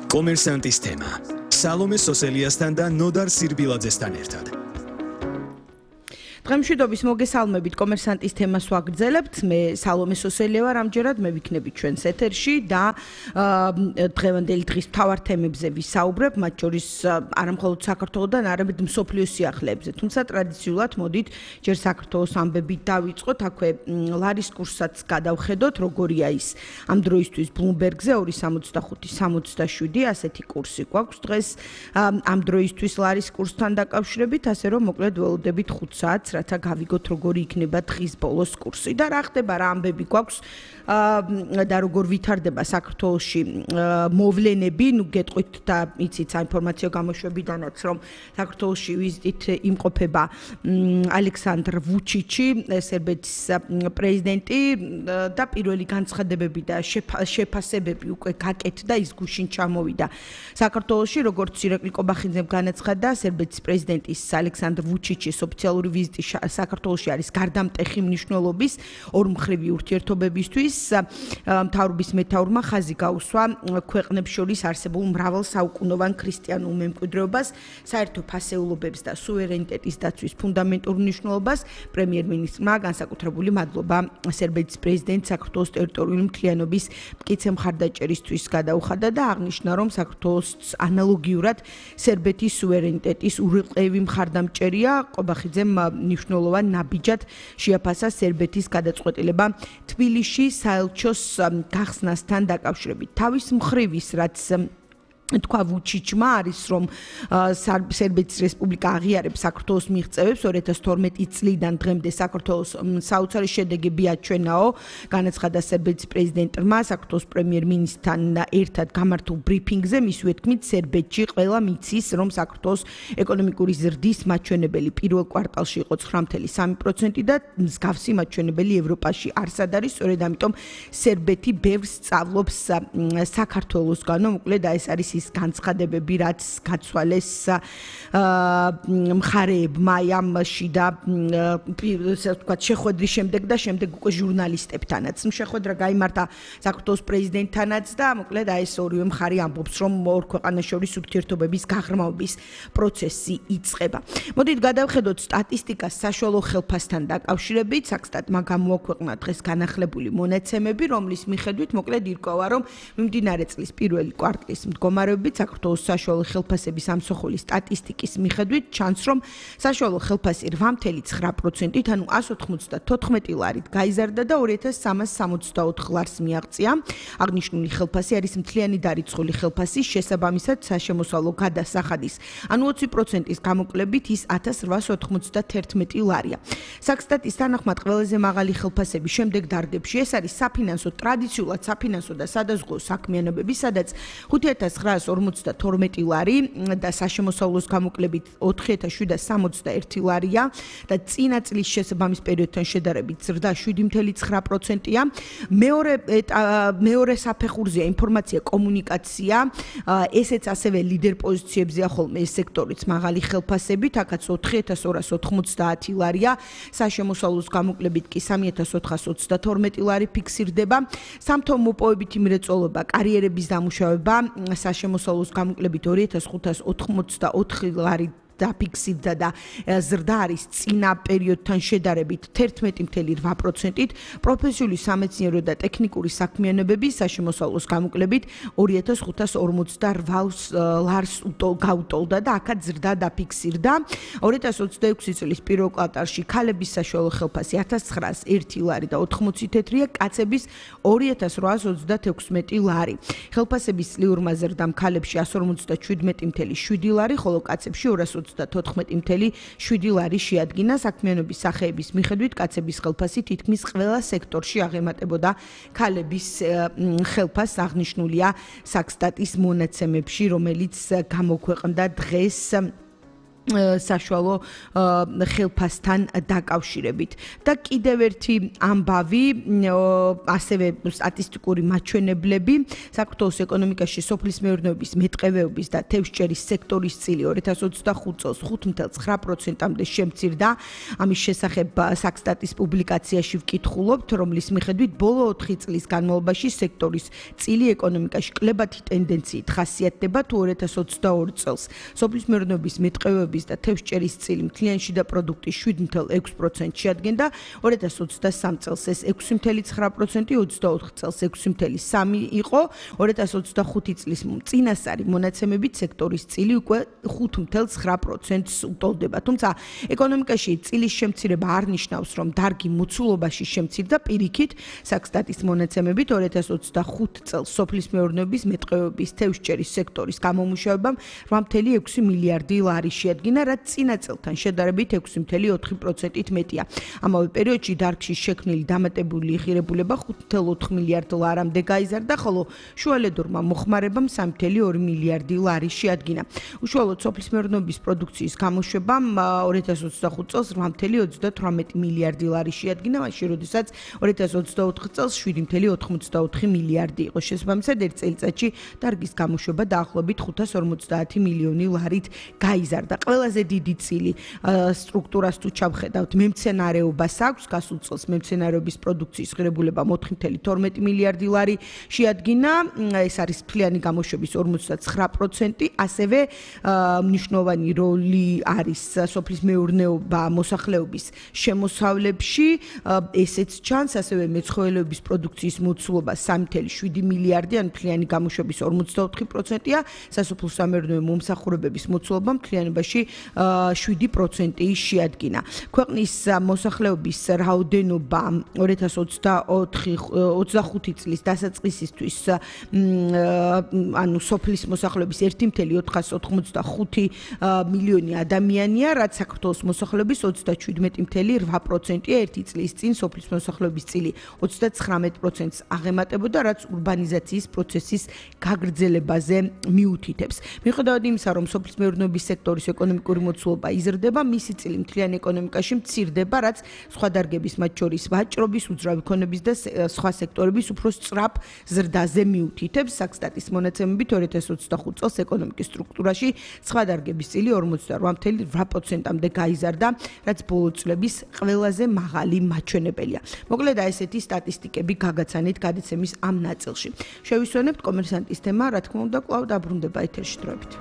კომერსანტის თემა. სალომე სოსელიასთან და ნოდარ სირბილაძესთან ერთად. დღემშვიდობის მოგესალმებით კომერსანტის თემას ვაგრძელებთ. მე სალომე სოსელია ვარ, ამჯერად მე ვიქნები ჩვენს ეთერში და დღევანდელი დღის მთავარ თემებზე ვისაუბრებ, მათ შორის არა მხოლოდ საქართველოსთან, არამედ მსოფლიოს სიახლეებზე. თუმცა ტრადიციულად მოდით ჯერ საქართველოს ამბებით დავიწყოთ, აქვე ლარის კურსსაც გადავხედოთ, როგორია ის ამ დროისთვის Bloomberg-ზე 2.65-67 ასეთი კურსი გვაქვს დღეს ამ დროისთვის ლარის კურსთან დაკავშირებით, ასე რომ მოკლედ ველოდებით 5 საათს რათა გავიგოთ როგორი იქნება დღის ბოლოს კურსი და რა ხდება რა ამბები გვაქვს და როგორ ვითარდება საქართველოში მოვლენები, ნუ გეტყვით და იცით საინფორმაციო გამოშვებიდანაც რომ საქართველოში ვიზიტით იმყოფება ალექსანდრ ვუჩიჩი, სერბეთის პრეზიდენტი და პირველი განცხადებები და შეფასებები უკვე გაკეთდა, ის გუშინ ჩამოვიდა საქართველოში, როგორც ირაკლი კობახიძემ განაცხადა, სერბეთის პრეზიდენტის ალექსანდრ ვუჩიჩის ოფიციალური ვიზიტი საქართველოში არის გარდამტეხი მნიშვნელობის ორმხრივი ურთიერთობებისთვის. მთავრობის მეთაურმა ხაზი გაუსვა ქვეყნებს შორის არსებულ მრავალ საუკუნოვან ქრისტიანულ მემკვიდრეობას, საერთო ფასეულობებს და სუვერენიტეტის დაცვის ფუნდამენტურ მნიშვნელობას. პრემიერ-მინისტრმა განსაკუთრებული მადლობა სერბეთის პრეზიდენტ საქართველოს ტერიტორიული მთლიანობის მტკიცე მხარდაჭერისთვის გადაუხადა და აღნიშნა, რომ საქართველოს ანალოგიურად სერბეთის სუვერენიტეტის ურყევი მხარდამჭერია. კობახიძემ მნიშვნელოვან ნაბიჯად შეაფასა სერბეთის გადაწყვეტილება თბილისში საელჩოს გახსნასთან დაკავშირებით. თავის მხრივ ის რაც თქვა ვუჩიჩმა არის რომ სერბეთის რესპუბლიკა აღიარებს საქართველოს მიღწევებს 2012 წლიდან დღემდე საქართველოს საოცარი შედეგები აჩვენაო, განაცხადა სერბეთის პრეზიდენტმა საქართველოს პრემიერ-მინისტრთან ერთად გამართულ ბრიფინგზე. მისივე თქმით, სერბეთში ყველა მიცის რომ საქართველოს ეკონომიკური ზრდის მაჩვენებელი პირველ კვარტალში იყო 9.3% და მსგავსი მაჩვენებელი ევროპაში არსად არის, სწორედ ამიტომ სერბეთი ბევრს სწავლობს საქართველოსგანო, მოკლედ ეს არის ის განცხადებები, რაც გაცვალეს მხარეებმა ამში და ესე ვთქვათ შეხვედრის შემდეგ და შემდეგ უკვე ჟურნალისტებთანაც. შეხვედრა გაიმართა საქართველოს პრეზიდენტთანაც და მოკლედ ეს ორივე მხარე ამბობს, რომ ორ ქვეყანას შორის ურთიერთობების გაღრმავების პროცესი იწყება. მოდით გადავხედოთ სტატისტიკას საშუალო ხელფასთან დაკავშირებით. საქსტატმა გამოაქვეყნა დღეს განახლებული მონაცემები, რომლის მიხედვით მოკლედ ირკვევა, რომ მიმდინარე წლის პირველი კვარტლის მდგომარეობით საქართველოს საშუალო ხელფასების ამსოხული სტატისტიკის მიხედვით ჩანს, რომ საშუალო ხელფასი 8.9%-ით, ანუ 194 ლარით გაიზარდა და 2364 ლარს მიაღწია. აღნიშნული ხელფასი არის მთლიანი დარიცხული ხელფასის შესაბამისად საშემოსავლო გადასახადის, ანუ 20%-ის გამოკლებით ის 1891 ლარია. საქსტატის თანახმად ყველაზე მაღალი ხელფასები შემდეგ დარგებში ეს არის საფინანსო, ტრადიციულად საფინანსო და სადაზღვეო საქმიანობები, სადაც 5942 ლარი და საშემოსავლოს გამოკლებით 4761 ლარია და წინა წლის შესაბამის პერიოდთან შედარებით ზრდა 7.9%-ია. მეორე საფეხურზეა ინფორმაცია, კომუნიკაცია, ესეც ასევე ლიდერ პოზიციებზეა ხოლმე ეს სექტორიც მაღალი ხელფასებით, აქაც 4290 ლარია, საშემოსავლოს გამოკლებით კი 3422 ლარი ფიქსირდება. სამთო მოპოვებითი მრეწველობა, კარიერების დამუშავება საშემოსავლოს გამოკლებით 2584 ლარი დაფიქსირდა და ზრდა არის წინა პერიოდთან შედარებით 11.8%-ით. პროფესიული სამეცნიერო და ტექნიკური საქმიანობები საშემოსავლოს გამოკლებით 2548 ლარს გაუტოლდა და აქაც ზრდა დაფიქსირდა. 2026 წლის პირველ კვარტალში ქალების საშუალო ხელფასი 1901 ლარი და 80 თეთრია, კაცების 2836 ლარი. ხელფასების წლიურმა ზრდამ ქალებში 157.7 ლარი, ხოლო კაცებში 224.7 ლარი შეადგინა. საქმიანობის სახეების მიხედვით კაცების ხელფასი თითქმის ყველა სექტორში აღემატებოდა ქალების ხელფასს, აღნიშნულია საქსტატის მონაცემებში, რომელიც გამოქვეყნდა დღეს საშუალო ხელფასთან დაკავშირებით. და კიდევ ერთი ამბავი, ასევე სტატისტიკური მაჩვენებლები, საქართველოს ეკონომიკაში სოფლის მეურნეობის, მეტყევეობის და თევზჭერის სექტორის წილი 2025 წელს 5.9%-მდე შემცირდა. ამის შესახებ საქსტატის პუბლიკაციაში ვკითხულობთ, რომლის მიხედვით ბოლო 4 წლის განმავლობაში სექტორის წილი ეკონომიკაში კლებათი ტენდენციით ხასიათდება, თუ 2022 წელს სოფლის მეურნეობის, მეტყევეობის და თევზჭერის წილი მთლიანი შიდა პროდუქტის 7.6% შეადგენდა, 2023 წელს ეს 6.9%, 24 წელს 6.3 იყო, 2025 წლის წინასწარი მონაცემებით სექტორის წილი უკვე 5.9%-ს უტოლდება. თუმცა ეკონომიკაში წილის შემცირება არ ნიშნავს, რომ დარგი მოცულობაში შემცირდა, პირიქით, საქსტატის მონაცემებით 2025 წელს სოფლის მეურნეობის, მეტყევეობის, თევზჭერის სექტორის გამომუშავებამ 8.6 მილიარდი ლარი შეადგინა, რაც წინა წელთან შედარებით 6.4%-ით მეტია. ამავე პერიოდში დარგში შექმნილი დამატებული ღირებულება 5.4 მილიარდ ლარამდე გაიზარდა, ხოლო შუალედურმა მოხმარებამ 3.2 მილიარდი ლარი შეადგინა. უშუალოდ სოფლის მეურნეობის პროდუქციის გამოშვებამ 2025 წელს 8.38 მილიარდი ლარი შეადგინა, მაშინ როდესაც 2024 წელს 7.84 მილიარდი იყო. შესაბამისად, ერთ წელიწადში დარგის გამოშვება დაახლოებით 550 მილიონი ლარით გაიზარდა. ყველაზე დიდი წილი სტრუქტურას თუ ჩავხედავთ, მემცენარეობას აქვს, გასულ წელს მემცენარეობის პროდუქციის ღირებულება 4.12 მილიარდი ლარი შეადგინა, ეს არის მთლიანი გამოშვების 59%, ასევე მნიშვნელოვანი როლი არის სოფლის მეურნეობა მოსახლეობის შემოსავლებში, ესეც ჩანს, ასევე მეცხოველეობის პროდუქციის მოცულობა 3.7 მილიარდი, ან მთლიანი გამოშვების 44%-ია, სასოფლო სამეურნეო მომსახურებების მოცულობა მთლიანობაში 7% შეადგინა. ქვეყნის მოსახლეობის რაოდენობა 2025 წლის დასაწყისისთვის, ანუ სოფლის მოსახლეობის 1.485 მილიონი ადამიანია, რაც საქართველოს მოსახლეობის 37.8%-ია, ერთი წლის წინ სოფლის მოსახლეობის წილი 39%-ს აღემატებოდა, რაც ურბანიზაციის პროცესის გაგრძელებაზე მიუთითებს. მიუხედავად იმისა, რომ სოფლის მეურნეობის სექტორის ეკონომიკური მოცულობა იზრდება, მისი წილი მთლიან ეკონომიკაში მცირდება, რაც სხვა დარგების, მათ შორის ვაჭრობის, უძრავი ქონების და სხვა სექტორების უფრო სწრაფ ზრდაზე მიუთითებს. საქსტატის მონაცემებით 2025 წელს ეკონომიკის სტრუქტურაში სხვა დარგების წილი 48.8%-მდე გაიზარდა, რაც ბოლო წლების ყველაზე მაღალი მაჩვენებელია. მოკლედ, ესეთი სტატისტიკები გაგაცანით გადაცემის ამ ნაწილში. შევისვენებთ კომერსანტის თემა, რა თქმა უნდა, კვლავ დაბრუნდება ეთერში დროებით.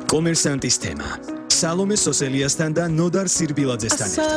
კომერსანტის თემა. სალომე სოსელიასთან და ნოდარ სირბილაძესთან.